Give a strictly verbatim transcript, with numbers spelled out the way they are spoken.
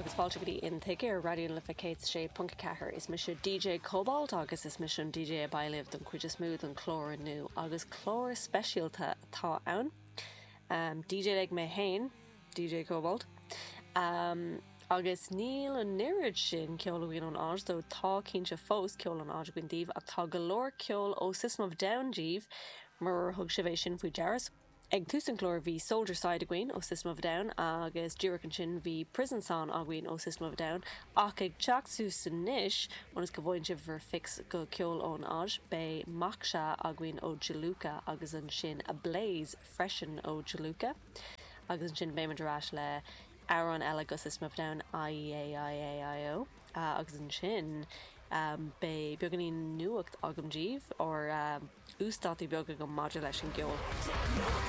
Agus fáilte go dtí Intuigthe ar Raidió na Life céad sé ponc ceathair. Is mise D J Cobalt agus is mise an D J a bheidh libh don chuid is mó den chlár inniu, agus clár speisialta atá ann. Um, D J ag mé féin, D J Cobalt. Um, agus níl an oiread sin ceol againn ón Áis, dó tá cinnte fós ceol ón Áis againn daoibh, ach tá go leor ceol ó System of a Down daoibh mar thug sibh é sin faoi deara. Ag tús an chláir bhí Soldier Side againn ó System of a Down agus díreach ansin bhí Prison Song againn ó System of a Down, ach ag teacht suas anois, ionas go bhfaigheann sibh bhur fix go ceol ón Áis, beidh Moksha againn ó Juluka agus ansin Ablaze freisin ó Juluka. Agus ansin beimid ar ais le amhrán eile go System of a Down, I E A I A I O, uh, agus ansin um, beidh beagáinín nuacht agam daoibh or um, uasdátú beag agam maidir leis an gceol.